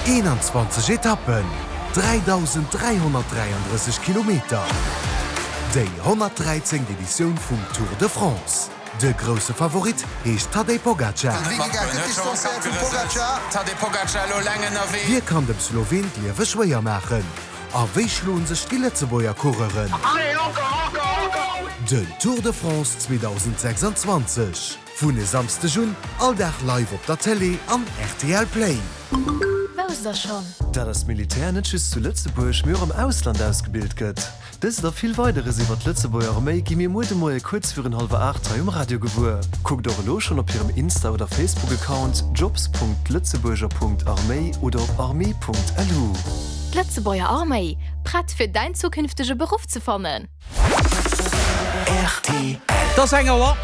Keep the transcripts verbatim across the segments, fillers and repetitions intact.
Eenanzwanzeg Etappen, dräidausend dräihonnertdräiandrësseg Kilometer, déi honnertdräizéngt Editioun vum Tour de France. De grousse Favorit heescht Tadej Pogacar. Wie kann dem Sloween d'Liewe schwéier maachen? A wéi schloen sech déi Lëtzebuerger Coureuren? Den Tour de France zweedausendsechsanzwanzeg vun e Samsdeg un all Dag live op der Télé an R T L Play. Wousst der schonn? Dat eist Militär net just zu Lëtzebuerg, mee och am Ausland ausgebilt gëtt? Dëst a vill Weideres iwwer d'Lëtzebuerger Arméi gi mir muer de Moie kuerz virun hallwer aacht hei um Radio gewuer. Kuckt och elo schonn op hirem Insta oder Facebook-Account jobs Punkt lëtzebuerger Punkt arméi oder op armee Punkt L U. D'Lëtzebuerger Arméi, prett fir däin zukünftege Beruff ze fannen. R T L. Et ass eng Auer.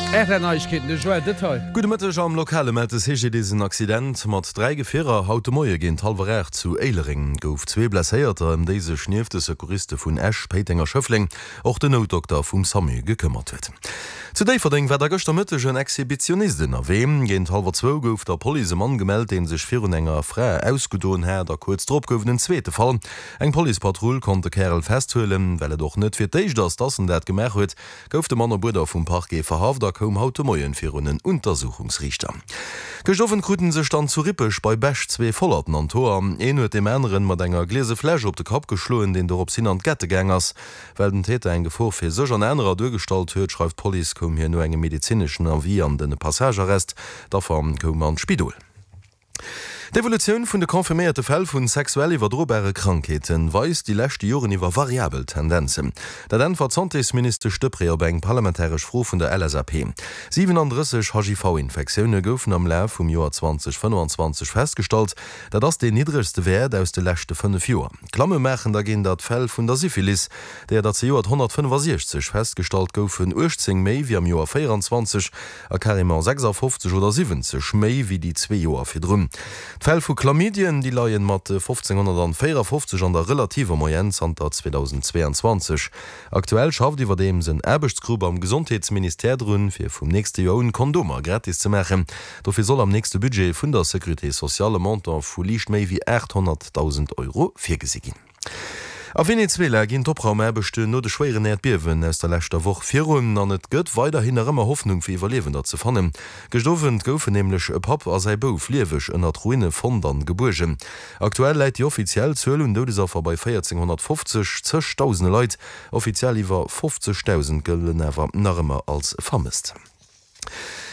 R T L Neiegkeeten, de Joël Detail. Gudde Mëtteg. Am Lokale mellt de C G D S en Accident mat dräi Gefierer haut de Moie géint hallwer aacht zu Éilereng. Gouf zwee Blesséierter, ëm déi sech nieft de Secouriste vun Esch, Péiteng a Schëffleng och den Noutdokter vum SAMU gekëmmert huet. Zu Déifferdeng war da gëschter Mëtteg en Exhibitionist ënnerwee. Géint hallwer zwou gouf der Police e Mann gemellt, dee sech virun enger Fra ausgedoen hat, a kuerz drop gouf et en zweete Fall. Eng Policepatrull konnt de Kärel festhuelen. Well et och net fir d'éischt ass, dass en dat gemaach huet, gouf de Mann op Uerder vum Parquet verhaft a koum haut de Moien virun en Untersuchungsriichter. Gëscht Owend kruten sech dann zu Rippeg bei Bech zwee Vollerten an d'Hoer. Een huet deem aneren mat enger gliese Fläsch op de Kapp geschloen, deen dorops hin an d'Gette gaang ass. Well den Täter eng Gefor fir sech an anerer duergestallt huet, schreift d'Police, koum hien no engem medezineschen Avis an de Passagearrest. D'Affer koum an d'Spidol. D'Evolutioun vun de confirméierte Fäll vu sexuell iwwerdrobare Krankheeten weist déi leschte Joren iwwer variabel Tendenzen. Dat äntwert d'Santésministesch Deprez op eng parlamentaresch Fro vun der L S A P. siwenandrësseg H I V-Infektioune goufen am Laf vum Joer zweedausendfënnefanzwanzeg festgestallt. Dat ass deen niddregste Wäert aus de leschte fënnef Joer. Klamme maachen dergéint d'Fäll vun der Syphilis, deeër der zejoert honnertfënnefasiechzeg festgestallt goufen, uechtzéng méi wéi am Joer véieranzwanzeg a carrément sechsafofzeg oder siwwenzeg méi wéi déi zwee Joer virdrun. D'Fäll vu Chlamydien, déi leien mat fofzénghonnertvéierafofzeg an der relativer Moyenne zanter zweedausendzweeanzwanzeg. Aktuell schafft iwwerdeems en Aarbechtsgrupp am Gesondheetsministère drun, fir vum nächste Joer un Kondomer gratis ze maachen. Dofir soll am nächste Budget vun der Sécurité sociale e Montant vu liicht méi wéi aathonnertdausend Euro virgesi ginn. A Venezuela ginn d'Opraumaarbechten no de schwéieren Äerdbiewen aus der leschter Woch virun an et gëtt weiderhin nach ëmmer Hoffnung fir Iwwerliewender ze fannen. Gëscht Owend goufen nämlech e Papp a säi Bouf lieweg ënnert Ruine fonnt an gebuergen. Aktuell läit déi offiziell Zuel un Doudesaffer bei véierzénghonnertfofzeg, zeg Dausende Leit, offiziell iwwer fofzegdausend, gëllen awer nach ëmmer als vermësst.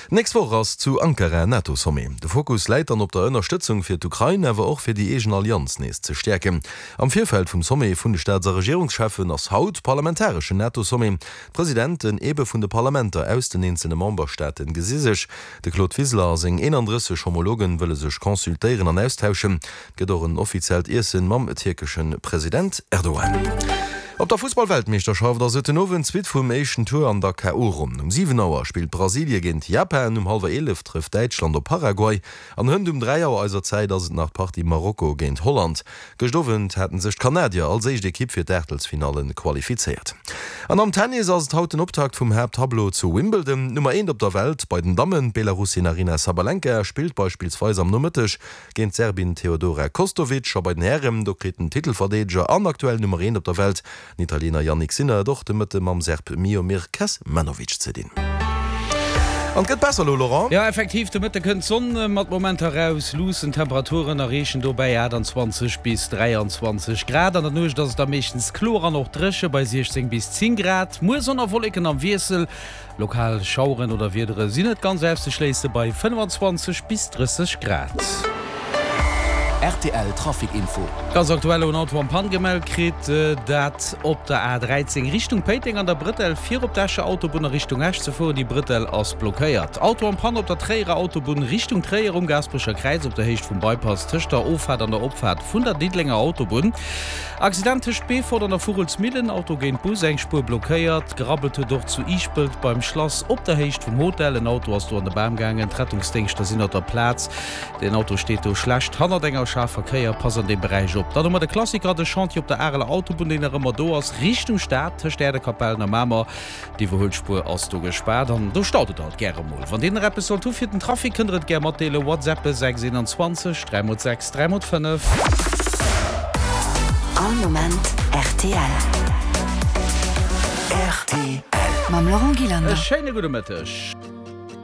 Nächst Woch ass zu Ankara NATO-Sommet. De Fokus läit dann op der Ënnerstëtzung fir d'Ukrain, awer och fir déi eegen Allianz nees ze stäerken. Am Virfeld vum Sommet vun de Staats- a Regierungscheffen ass haut parlamentareschen NATO-Sommet. D'Presidenten ebe vun de Parlamenter aus den eenzelne Memberstaaten gesi sech. De Claude Wiseler a seng eenandrësseg Homologen wëlle sech consultéieren an austauschen. Et gëtt och en offiziellt Iessen mam tierkesche President Erdogan. Op der Fussballweltmeeschterschaft ass et den Owend d'Suite vum éischten Tour an der K O. Ronn. Um siwen Auer spillt Brasilie géint Japan, um hallwer eelef trëfft Däitschland op Paraguay an hënt um dräi Auer eiser Zäit ass et nach d'Partie Marokko géint Holland. Gëscht Owend haten sech d'Kanadier als éischt Ekipp fir d'Aachtelsfinalle qualifizéiert. An am Tennis ass et haut den Optakt vum Haapttableau zu Wimbledon. D'Nummer eent op der Welt bei den Dammen, d'Belarussin Aryna Sabalenka, spillt beispillsweis am Nomëtteg géint d'Serbin Teodora Kostovic a bei den Hären, do kritt den Titelverdeedeger an aktuell Nummer eent op der Welt, den Italiener Jannik Sinner, et och de Mëtte mam Serb Miomir Kecmanovic ze dinn. An et gëtt besser elo, Laurent. Jo, effektiv, de Mëtte kënnt d'Sonn mat Momenter eraus. Luussen Temperaturen erreechen dobäi aachtanzwanzeg bis dräianzwanzeg Grad. An der Nuecht ass et da meeschtens kloer an och dréche bei siechzéng bis zéng Grad. Muer Sonn a Wolleken am Wiessel, lokal Schaueren oder Wiedere sinn net ganz auszeschléisse bei fënnefanzwanzeg bis drësseg Grad. R T L Trafic Info. Ganz aktuell en Auto en panne gemellt kritt, dat op der A dräizéng Richtung Péiteng an der Brëttel fir op d'Escher Autobunn a Richtung Esch ze fueren. Déi Brëttel ass blockéiert. Auto en panne op der Tréierer Autobunn Richtung Tréier um Gaasperecher Kräiz op der Héicht vum Bypass tëscht der Offaart an der Opfaart vun der Diddelenger Autobunn. Accident tëscht Beefort an der Vugelsmillen, Auto géint Bus, eng Spuer blockéiert. Gerabbelt huet och zu Ischpelt beim Schlass op der Héicht vum Hotel. En Auto ass do an de Bam gaangen. D'Rettungsdéngschter sinn op der Plaz. Den Auto steet do schlecht hannert enger Scharverkéier, pass an deem Beräich op. Dann hu mer de Klassiker, de Chantier op der Areler Autobunn, deen nach ëmmer do ass, Richtung Stad, tëscht Äerdekapellen a Mamer. D'Iwwerhuelspuer ass do gespaart an do staut et alt gäre mol. Wann Dir nach eppes sollt hu fir den Trafic, kënnt Der et gär matdeelen, WhatsAppe sechs einundzwanzeg dräi mol sechs dräi mol fënnef. All Moment rtl. Rtl. Mam Laurent Gillander. E schéine gudde Mëtteg.